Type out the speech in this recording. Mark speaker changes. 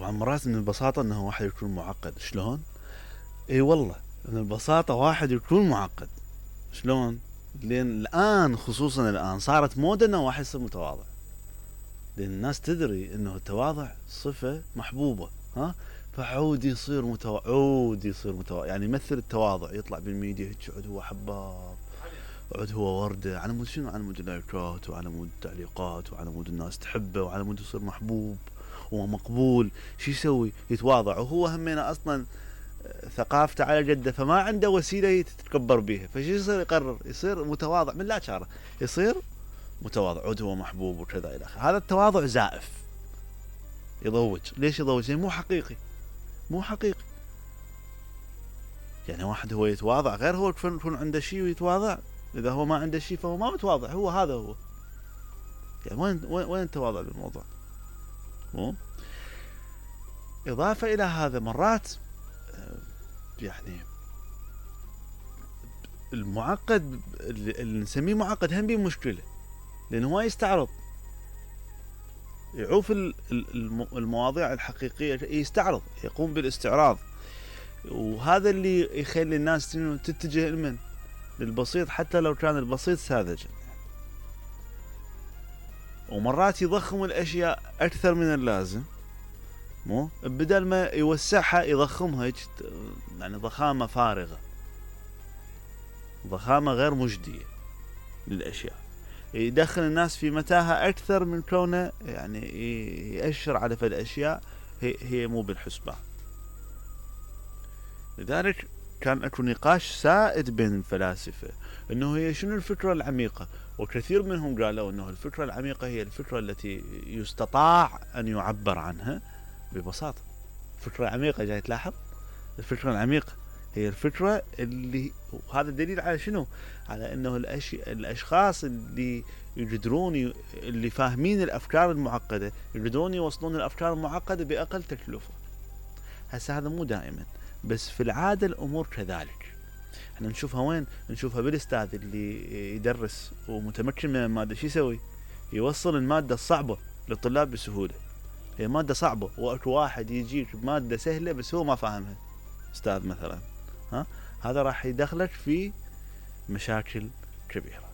Speaker 1: طبعا مرات من البساطة انه واحد يكون معقد. شلون؟ اي والله من البساطة واحد يكون معقد. شلون؟ لان الان خصوصا الان صارت موضة انه واحد يصير متواضع، لان الناس تدري انه التواضع صفة محبوبة. ها، فعود يصير متواضع، يعني يمثل التواضع، يطلع بالميديا هيك عود هو حباب، عود هو وردة، على مود شنو؟ على مود اللايكات وعلى مود التعليقات وعلى مود الناس تحبه وعلى مود يصير محبوب ومقبول. شو يسوي؟ يتواضع، وهو همينه اصلا ثقافته على جده، فما عنده وسيله يتكبر بيها، فشو يصير؟ يقرر يصير متواضع من لا شعره، يصير متواضع، عود هو محبوب وكذا الى اخره. هذا التواضع زائف، يضوج. ليش يضوج؟ يعني مو حقيقي. يعني واحد هو يتواضع غير هو يكون عنده شيء ويتواضع. اذا هو ما عنده شيء فهو ما متواضع، هو هذا هو. يعني وين التواضع بالموضوع؟ مو اضافه الى هذا، مرات يعني المعقد اللي نسميه معقد هم بيه مشكله، لانه هو يستعرض، يعوف المواضيع الحقيقيه، يستعرض، يقوم بالاستعراض، وهذا اللي يخلي الناس تتجه لمن؟ للبسيط، حتى لو كان البسيط ساذجا. ومرات يضخم الاشياء اكثر من اللازم، مو بدل ما يوسعها يضخمها، يعني ضخامه فارغه، ضخامه غير مجديه للاشياء، يدخل الناس في متاهه اكثر من كونه يعني يأشر على فد اشياء هي مو بالحسبان. لذلك كان اكو نقاش سائد بين الفلاسفه انه هي شنو الفكره العميقه، وكثير منهم قالوا انه الفكره العميقه هي الفكره التي يستطاع ان يعبر عنها ببساطه. الفكره العميقه، جاي تلاحظ؟ الفكره العميقه هي الفكره اللي، وهذا دليل على شنو؟ على انه الاشخاص اللي يقدرون اللي فاهمين الافكار المعقده يقدرون يوصلون الافكار المعقده باقل تكلفه. هسه هذا مو دائما، بس في العاده الامور كذلك. احنا نشوفها وين؟ نشوفها بالاستاذ اللي يدرس ومتمكن من الماده، شو يسوي؟ يوصل الماده الصعبه للطلاب بسهوله. هي ماده صعبه، واكو واحد يجيك بماده سهله بس هو ما فاهمها، استاذ مثلا، ها، هذا راح يدخلك في مشاكل كبيره.